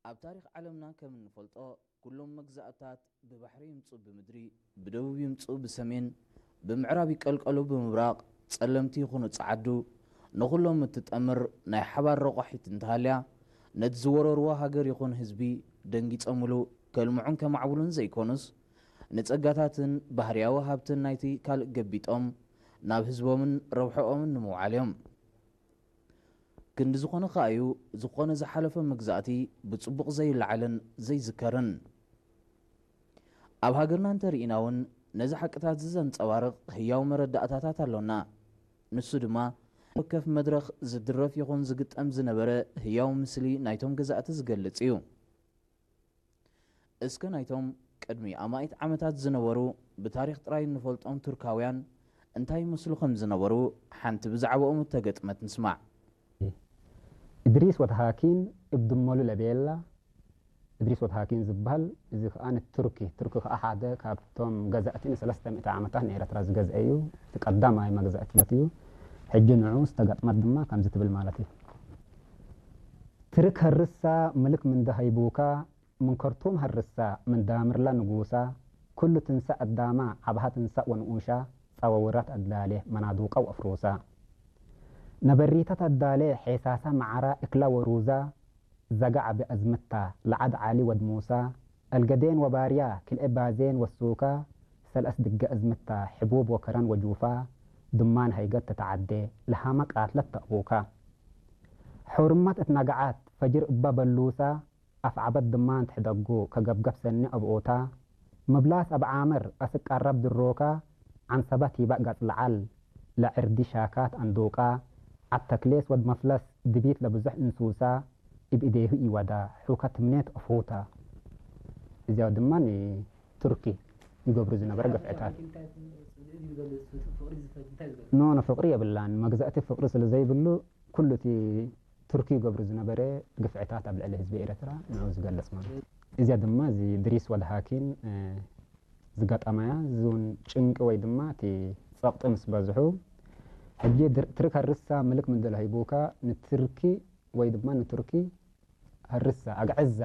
ኣብ ታሪኽ ዓለምና ከም እንፈልጦ፣ ኩሎም መግዛእትታት ብባሕሪ ይምጹ ብምድሪ፣ ብደቡብ ይምጹ ብሰሜን፣ ብምዕራብ ይቀልቀሉ ብምብራቕ፣ ጸለምቲ ይኹኑ ጸዓዱ፣ ንኹሎም እትጠምር ናይ ሓባር ረቋሒት እንተሃልያ፣ ነቲ ዝወረርዎ ሃገር ይኹን ህዝቢ ደንጊጾምሉ ከልምዑን ከማዕብሉን ዘይኮኑስ፣ ንጸጋታትን ባህርያዊ ሃብትን ናይቲ ካልእ ገቢጦም ናብ ህዝቦምን ረብሕኦምን ንምውዓል እዮም። ክንዲ ዝኾነ ከኣ እዩ፣ ዝኾነ ዝሓለፈ መግዛእቲ ብጽቡቕ ዘይለዓልን ዘይዝከርን። ኣብ ሃገርና እንተርኢና እውን ነዚ ሓቅታት እዚ ዘንጸባርቕ ህያው መረዳእታታት ኣሎና። ንሱ ድማ ወከፍ መድረኽ ዝድረፍ ይኹን ዝግጠም ዝነበረ ህያው ምስሊ ናይቶም ገዛእቲ ዝገልጽ እዩ። እስከ ናይቶም ቅድሚ ኣማኢት ዓመታት ዝነበሩ ብታሪኽ ጥራይ እንፈልጦም ቱርካውያን እንታይ ይመስሉ ከም ዝነበሩ ሓንቲ ብዛዕባኦም እተገጥመት ንስማዕ። እድሪስ ወድሃኪን እብ ድመሉ ለቤላ። እድሪስ ወድሃኪን ዝበሃል፣ እዚ ከኣ ንቱርኪ፣ ቱርኪ ከኣ ሓደ ካብቶም ገዛእቲ ንሰለስተ ሚእቲ ዓመታት ንኤረትራ ዝገዝአ እዩ። እቲ ቀዳማይ መግዛእቲ እዩ። ሕጂ ንዑ ዝተገጥመት ድማ ከምዚ ትብል ማለት እዩ። ትርክ ሀርሳ ምልክ ምንደ ሀይቡካ፣ ምን ከርቱም ሀርሳ ምን ዳምርላ ንጉሳ፣ ኩሉ ትንሳ አዳማ፣ አብሃ ትንሳ ወንኡሻ፣ ጸወውራት አዳሌ፣ መናዱቃ ወአፍሩሳ። ነበሪታት አዳሌ፣ ሔሳሳ መዓራ እክላ ወሩዛ፣ ዘጋ ዓቢ አዝምታ፣ ለዓድ ዓሊ ወድ ሙሳ፣ አልገዴን ወባርያ፣ ክልኤ ባዜን ወሱካ፣ ሰልአስ ድገ አዝምታ፣ ሕቡብ ወከረን ወጁፋ፣ ድማን ሀይገት ተተዓዴ፣ ለሃመ ቃትለት ተአቡካ። ሑርመት እት ነገዓት፣ ፈጅር እባ በሉሳ፣ አፍዓበት ድማን ትሕደጉ ከገብገብ ሰኒ አብኦታ፣ ምብላስ አብ ዓምር አስቅ ቀረብ ድሮካ፣ ዐንሰበት ሂባ ገጽ ለዐል ለዕርዲ ሻካት አንዱቃ፣ ዐድ ተክሌስ ወድ መፍለስ ድቢት ለብዙሕ እንሱሳ፣ እብ እዴሁ ኢወዳ ሑከ ትምኔት አፉታ። እዚያው ድማ ንቱርኪ ይገብሩ ዝነበረ ግፍዕታት። ኖ፣ ኖ፣ ፍቅሪ የብላን። መግዛእቲ ፍቅሪ ስለ ዘይብሉ፣ ኩሉ እቲ ቱርኪ ይገብሩ ዝነበረ ግፍዕታት ኣብ ልዕሊ ህዝቢ ኤረትራ ንዑ ዝገልጽ ማለት እዩ። እዚኣ ድማ እዚ ድሪስ ወልሃኪን ዝገጠማያ፣ እዚ እውን ጭንቂ ወይ ድማ እቲ ጸቕጢ ምስ በዝሑ፣ ሕጂ ትርክ ሀርሳ ምልክ ምንድለ ሂቡካ ንትርኪ ወይ ድማ ንቱርኪ ሀርሳ ኣግዕዛ